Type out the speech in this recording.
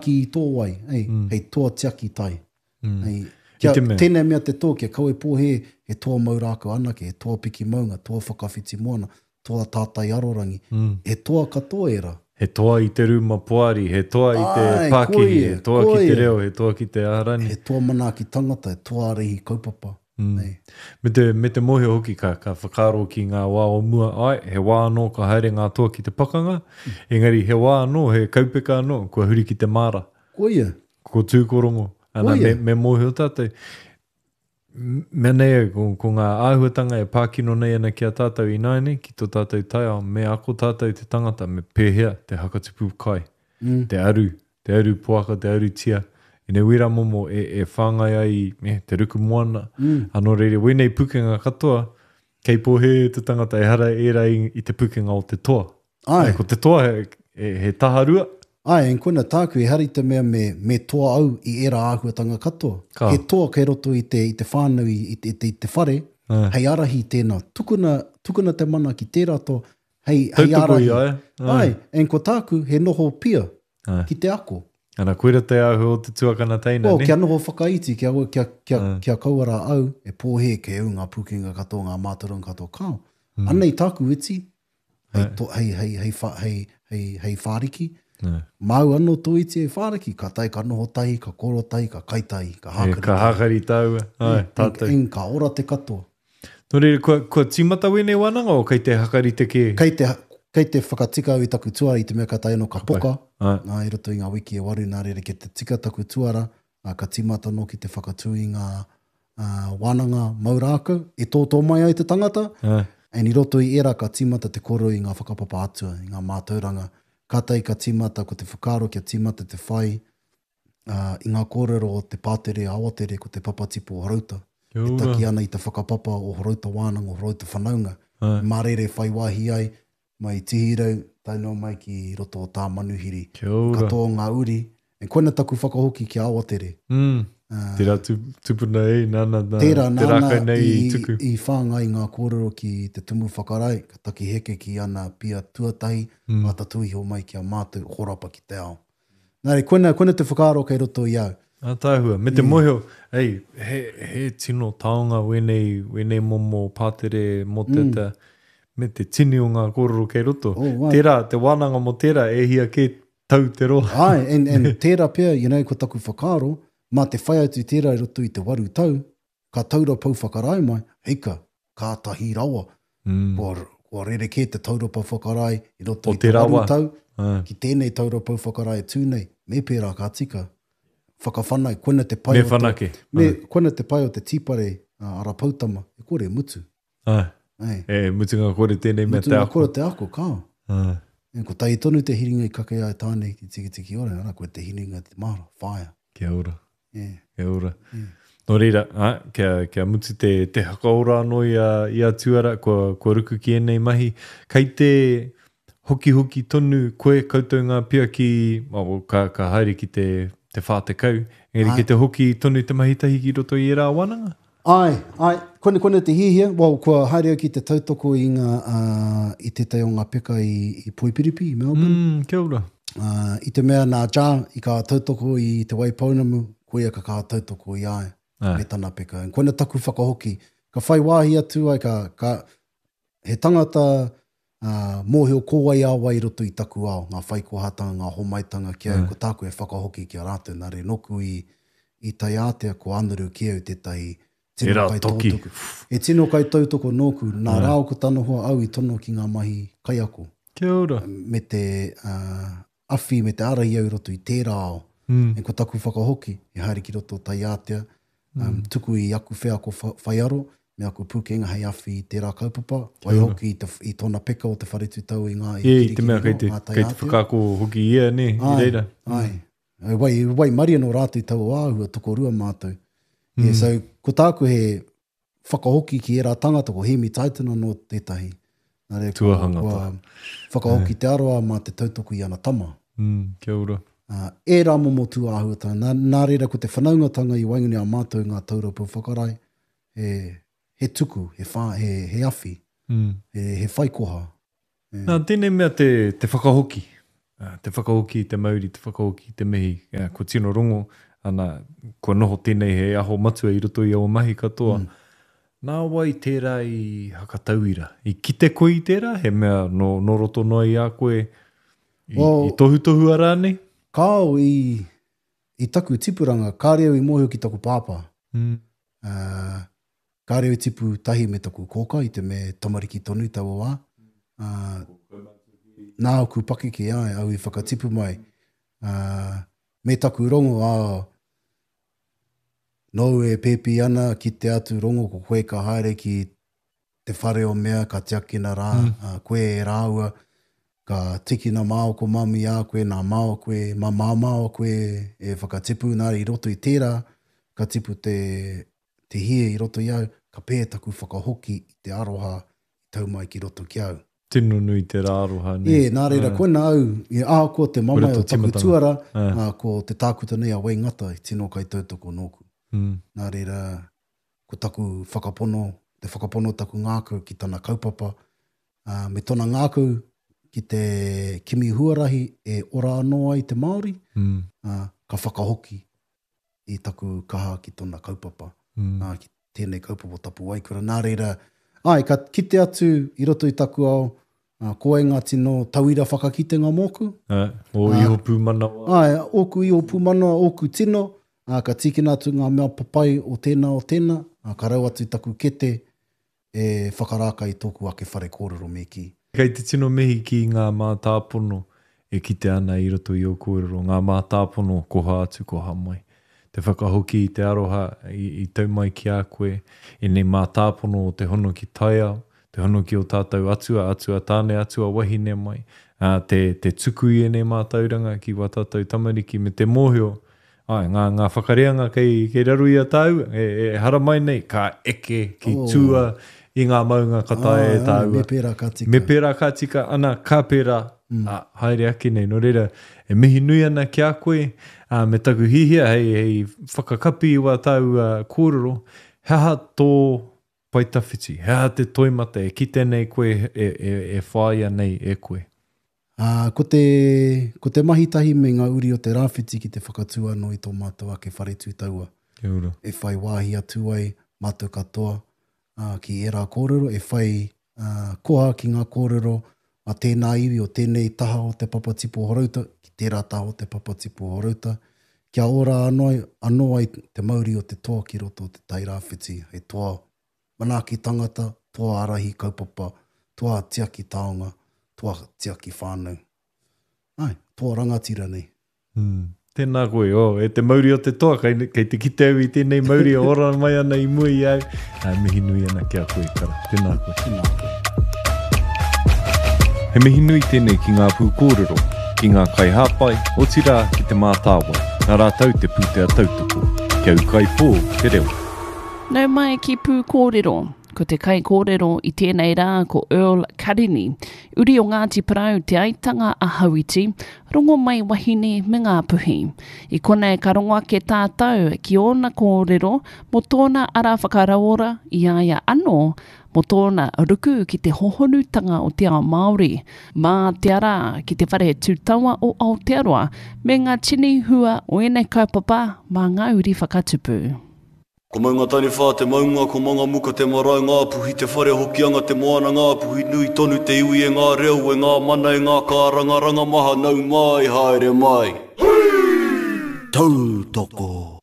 Ki tō wai, hei, mm. hei toa tiaki tai. Mm. Hei, kia, te mea. Tēnei mea te toa, kia kawe pōhē, he toa mau rākau anake, he toa piki maunga, toa whakawhiti moana, toa tātai arorangi. Mm. He toa katoa ērā. He toa i te rūma poari, he toa i te pākihi, he toa ki te reo, he toa ki te aharani. He toa manaaki tangata, he toa ārahi kaupapa. Mm. Nei. Me te, me te mōhio hoki ka, ka whakaaro ki ngā wā o mua, ai, he wā anō ka haere ngā toa ki te pakanga, mm. engari he wā anō, he kaupeka anō, kua huri ki te māra. Koia. Ko Tūkorongo. Ana, me, me mōhio tātou. Mea nei au, ko, ko ngā āhuatanga e pākino nei ana ki a tātou ināianei, ki tō tātou taiao, me ako tātou te tangata, me pēhea te hakatupu kai, mm. te aru, te aru poaka, te aru tia, ēnei wera momo e, e whāngai ai i eh, te ruku moana. Mm. Anō reira, wēnei pukenga katoa, kei pōhēhē te tangata ehara ērā i, i te pukenga o te toa. Ai. Ko te toa he, he, he taharua. Ai, and koina tāku, ehara i te mea me, me toa au i ērā āhuatanga katoa. Ka. He toa kei roto i te, i te whānau, i, i, te, i te whare, Ai. hei ārahi tēnā. Tukuna, tukuna te mana ki tērā toa, hei, hei ārahi. Tautoko i a ia. Ai, and ko tāku, he noho pia Ai. ki te ako. Ana, koira te āhua o te tuakana teina, Well, ne? kia noho whakaiti, kia, kia, kia, mm. kia kaua rā au e pōhē kei au ngā pūkenga katoa, ngā mātauranga katoa. Kao, mm. anei tāku iti, hei, to, hei, hei, hei, wha, hei, hei, hei whāriki. Mm. Māu anō tō iti hei whāriki, ka tae ka noho tahi, ka koro tahi, ka kai tahi, ka hākari tahi. Ka hākari tāua, ai, tātou. En, ka ora te katoa. Nō reira, kua, kua tīmata wēnei wānanga o kei te hakarite kē? Kei te, kei te whakatika au i taku tuara i te mea ka tae anō ka poka, ā, i roto i ngā wiki e waru, nā reira kia te tika taku tuara, ā, ka tīmata anō ki te whakatū i ngā, ā, wānanga mau rākau e tōtō mai ai te tangata, and i roto i ērā ka tīmata te kōrero i ngā whakapapa atua, i ngā mātauranga. Kātahi ka tīmata ko te whakaaro kia tīmata te whai, ā, i ngā kōrero o te pātere a Awatere ko te papatipu o Horouta, e taki ana i te whakapapa o Horouta Wānanga, o Horouta Whanaunga, mā reira e whai wāhi ai mai i Tihirau tae noa mai ki roto o Tāmanuhiri. Katoa o ngā uri, and koina taku whakahoki ki a Awatere. Mm. Tērā tupuna e, nāna, nā, Tērā, te rākau nei i tuku. I whāngai ngā kōrero ki te tumu whakarae, ka taki heke ki ana pia tuatahi, mm. ā tatū iho mai ki a mātou, horapa ki te ao. Nā reira, koina, koina te whakaaro kei roto i au. Ātaahua. Me te mōhio, ei, he, he tino taonga wēnei, wēnei momo pātere mōteatea, mm. me te tini o ngā kōrero kei roto. Oh, right. Tērā, te wānanga mō tērā, e hia kē tau te roa. Ai, and, and tērā pea, you know, ko taku whakaaro, mā te whai atu tērā i roto i te waru tau, ka taura pou whakarae mai, heika, kātahi rawa, mm. kua, kua rerekē te taura pou whakarae i roto o i te waru tau, ki tēnei taura pou whakarae e tū nei, me pērā ka tika. Whakawhanau, koina te pai me whanake. o te, me, koina te pai o te tīpare uh, ara poutama, e kore mutu. Ai. Ai. E, mutunga kore tēnei mea te ako. Mutunga kore te ako, kao. Ai. E, ko tahi tonu te hiringa i kake ai tāne ki Tikitiki Ora, ara, koe te hiringa te māra, whāia. Kia ora. Yeah. Kia ora. Yeah. Nō reira, ā, kia, kia mutu te, te hakaora anō i a, i a Tuara, kua, kua ruku ki ēnei mahi. Kei te hokihoki tonu koe koutou ngā pia ki, oh, ka, ka haere ki te, te 40, engari kei te hoki tonu te mahi tahi ki roto i ērā wānanga? Āe, āe, kone, kone te hiahia, well, kua haere au ki te tautoko i ngā, uh, i tētahi o ngā peka i, i Poipiripi, i Melbourne. Mm, kia ora. Uh, i te mea nā Ja i ka tautoko i Te Waipounamu, koia ka kaha tautoko i a ia, me tana peka. And koina taku whakahoki, ka whai wāhi atu ai, ka, ka, he tangata ā, mōhio ko wai a wai i roto i taku ao, ngā whaikohatanga, ngā homaitanga ki au, ko tāku e whakahoki ki a rātou, nā reira, nōku i, i taiātea ko Anaru ki au tētahi tino Tērā toki. kaitautoko. He tino kaitautoko nōku, nā rāua ko tana hoa au i tono ki ngā mahi kaiako. Kia ora. Me te, ā, awhi me te ārahi au i roto i tērā ao. Mm. And ko taku whakahoki, e haere ki roto o Taiātea, um, tuku i aku wheako whaiaro, me aku pūkenga hei awhi i tērā kaupapa, waihoki i, te, i tōna peka o te whare tūtau i ngā i yeah, i te mea kei te, kei te whakaako hoki ia, ne, i reira. Ai, ai. Wai, waimarie nō rātou i taua āhua, tokorua mātou. Mm. Yeah, so, ko tāku he whakahoki ki ērā tangata, ko Hēmi Titan anō tētahi. Nā reira, kua, kua whakahoki te aroa mā te tautoko i ana tama. Mm, kia ora. Uh, ērā momo tū āhuatanga. Nā, nā reira, ko te whanaungatanga i waenganui a mātou ngā taura pou whakarae, he, he tuku, he, whā, he, he awhi, mm. he, he whaikoha. Nā, tēnei mea te, te whakahoki. Te whakahoki i te mauri, te whakahoki i te mihi, kua tino rongo, ana, kua noho tēnei hei aho matua i roto i ō mahi katoa. Mm. Nā wai tērā i hakatauira? I kite koe i tērā? He mea nō, nō roto noa i a koe i, well, i tohutohua rānei? Kāo, i, i taku tipuranga, kāre au i mōhio ki taku pāpā. Mm. Uh, Kāre au i tipu tahi me taku kōkā i te mea tamariki tonu taua wā. Ā, nā ōku pakeke, āe, au i whakatipu mai. Ā, me taku rongo, ā, nōu e pēpi ana, kite atu rongo ko koe ka haere ki te whare o mea, ka tiakina rā, ā, koe e rāua, ka tikina māua ko mami a koe, nā māua koe, mā māmā koe e whakatipu, nā, i roto i tērā, ka tipu te, te hie i roto i au, ka pē taku whakahoki i te aroha i tau mai ki roto ki au. Tino nui te rā aroha, nē? Ē, nā reira, koina au, i ahakoa te mamae o taku tuara, ā, ko te tākuta nei a Wayne Ngata i tino kaitautoko nōku. Nā reira, ko taku whakapono, te whakapono o taku ngākau ki tana kaupapa, ā, me tona ngākau ki te kimi huarahi e ora anō ai te Māori, ā, ka whakahoki i taku kaha ki tona kaupapa, mm. ā, ki tēnei kaupapa o Tapuwaekura. Nā reira, āe, ka kite atu i roto i taku ao, ā, ko wai ngā tino tauira whakakitenga mōku. Ā, ō iho pūmanawa. Āe, ōku iho pūmanawa, ōku tino, ā, ka tīkina atu ngā mea papai o tēnā, o tēnā, ā, ka rau atu taku kete e whakarākai i tōku ake whare kōrero me kī. Kei te tino mihi ki ngā mātāpono e kitea ana i roto i ō kōrero, ngā mātāpono koha atu, koha mai. Te whakahoki i te aroha i tau mai ki a koe, ēnei mātāpono o te hono ki taiao, te hono ki ō tātou atua, atua tāne, atua wahine mai, ā, te, te tuku i ēnei mātauranga ki wā tātou tamariki me te mōhio Āe, ngā, ngā whakareanga kei, kei raro i a tāua, e, e haramai nei, ka eke ki oh. tua i ngā maunga ka taea e tāua. Me pērā ka tika. Me pērā ka tika, ana, ka pērā, mm. a, haere ake nei. Nō reira, e mihi nui ana ki a koe, a, me taku hihia hei, hei whakakapi i wā tāua kōrero, he aha tō pae tawhiti, he aha te toimata e kite nei koe e, e, e whāia nei e koe? Ā, ko te, ko te mahi tahi me ngā uri o te Rāwhiti ki te whakatū anō i tō mātou ake whare tū taua. Kia ora. E whai wāhi atu ai mātou katoa, ā, ki ērā kōrero, e whai, ā, koha ki ngā kōrero a tēnā iwi o tēnei taha o te papa tipu o Horouta, ki tērā taha o te papa tipu o Horouta, kia ora anō ai, anō ai te mauri o te toa ki roto o te Tai Rāwhiti hei toa Manaaki tangata, toa ārahi kaupapa, toa tiaki taonga, toa tiaki whānau. Āe, toa rangatira nei. Mm. Tēnā koe, oh, e te mauri o te toa, kei, kei te kite au i tēnei mauri e ora mai ana i mua i au. Ā, mihi nui ana ki a koe, Kara. Tēnā koe. Tēnā koe. He mihi nui tēnei ki ngā pūkōrero, ki ngā kaihāpai, otirā ki Te Mātāwai, nā rātou te pūtea tautoko. Kia ūkaipō te reo. Nau mai ki Pūkōrero. Ko te kaikōrero i tēnei rā ko Earl Karini, uri o Ngāti Porou, Te Aitanga a Hauiti, Rongomaiwahine me Ngāpuhi. I konei ka rongo ake tātou ki ōna kōrero mō tōna ara whakarauora i a ia anō, mō tōna ruku ki te hohonutanga o te ao Māori, mā te ara ki te whare tū taua o Aotearoa me ngā tini hua o ēnei kaupapa mā ngā uri whakatupu. Ko Maungataniwha te maunga, ko Mangamuka te marae, Ngāpuhi te whare, Hokianga te moana, Ngāpuhi nui tonu te iwi e ngā reo, e ngā mana, e ngā kārangaranga maha, nau mai, haere mai. Tautoko.